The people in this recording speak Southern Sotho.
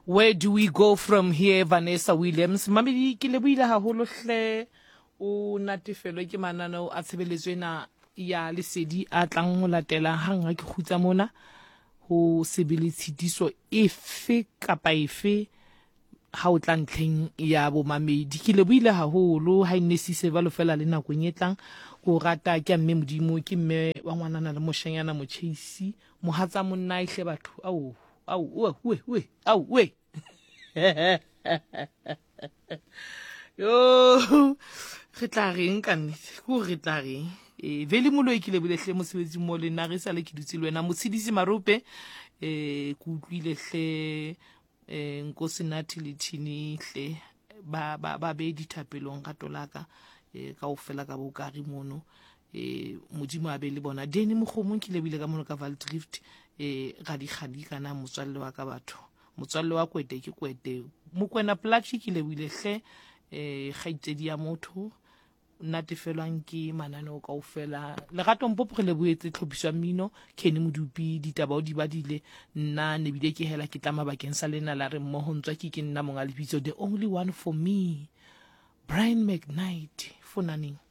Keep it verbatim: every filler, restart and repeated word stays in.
Where do we go from here, Vanessa Williams? Mamedi, ke lebohile haholo hle. O natefelwe ke mananeo a tshebeletso ena ya Lesedi a tlang ho latela hang ha ke kgutsa mona. Ho se be le tshitiso efe kapa efe ha o tla ntlheng ya bomamedi. Ke lebohile haholo ha e nne sise jwalo fela le nakong e tlang. Ke o rata ke a mme Modimo, ke mme wa ngwanana le moshanyana motjheisi, mohatsa monna e hle batho. Ao, ao, oe, oe, oe, ao, oe. Yo, re tla reng ka nnete? Ke hore re tla reng? E, Veli Moloi ke lebohile hle mosebetsing mo le nna re sale ke dutse le wena. Motshedisi Marope, eh, ke utlwile hle, eh, Nkosi Nathi le Thini hle, ba, ba, ba be dithapelong rato la ka, eh, kaofela ka bokare mono. Eh, Modimo a be le bona. Danny Mokgomong ke lebohile ka mono ka Valdrift, eh, radikgadi kana motswalle wa ka batho. Motswalle wa kwete ke kwete. Mokwena Plaatje ke lebohile hle, eh, kgaitsedi ya motho, natefelwang ke mananeo kaofela. Lerato Mpopo re lebohetse tlhophiso ya mmino, Kenny Modupi ditaba o di badile, nna ne bile ke hela ke tlama bakeng sa lena la re mmoho ntswa ke ke nna monga lebitso, the only one for me, Brian McKnight, fonaneng.